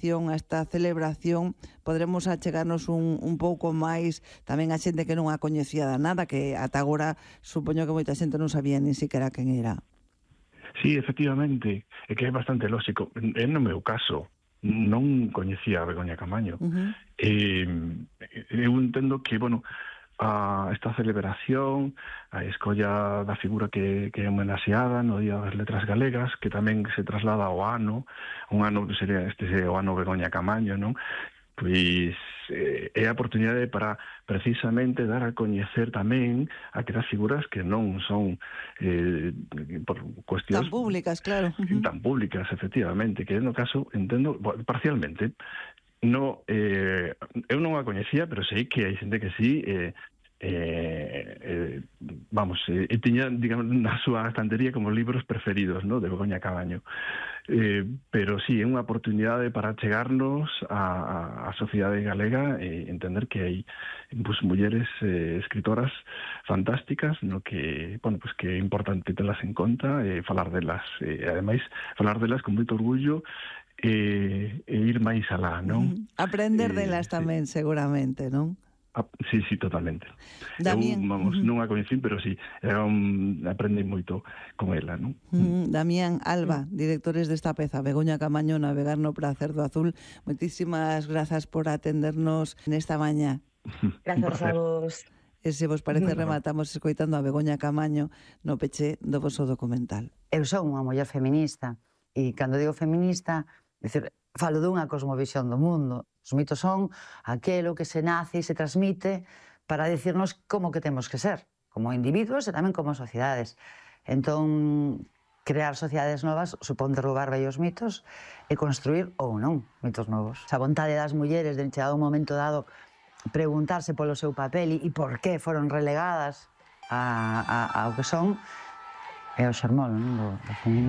edición, a esta celebración, podremos achegarnos un pouco máis tamén a xente que non a coñecía de nada, que ata agora supoño que moita xente non sabía nin siquiera quen era. Sí, efectivamente, é que é bastante lógico. No meu caso, non coñecía a Begoña Camaño. Eu entendo que, esta celebración, a escolla da figura que é homenaxeada no Día das Letras Galegas, que tamén se traslada ao ano, un ano que sería o ano Begoña Camaño, non? Pois é a oportunidade para precisamente dar a coñecer tamén aquelas figuras que non son por cuestións tan públicas, claro. Tan públicas, efectivamente, que no caso, entendo, parcialmente. Eu non a coñecía, pero sei que hai xente que sí, tiña, digamos, na súa estantería como libros preferidos, ¿no?, de Begoña Camaño. Pero sí, é unha oportunidade para chegarnos á sociedade galega e entender que hai mulleres escritoras fantásticas, no que, que é importante telas en conta e falar delas, e ademais falar delas con moito orgullo e ir máis alá, non? Aprender delas tamén, seguramente, non? Sí, totalmente. Damián, eu, non a coñecín, pero sí, aprendi moito con ela, non? Damián, Alba, directores desta peza, Begoña Camaño, Navegar no prazer do azul, moitísimas grazas por atendernos nesta mañá. Grazas a vos. E se vos parece, rematamos escoitando a Begoña Camaño no peche do voso documental. Eu son unha muller feminista, e cando digo feminista, falo dunha cosmovisión do mundo. Os mitos son aquelo que se nace e se transmite para decirnos como que temos que ser, como individuos e tamén como sociedades. Entón, crear sociedades novas supón derrubar vellos mitos e construir, ou non, mitos novos. A vontade das mulleres de chegado un momento dado preguntarse polo seu papel e por que foron relegadas ao que son é o xermol, non, do feminismo.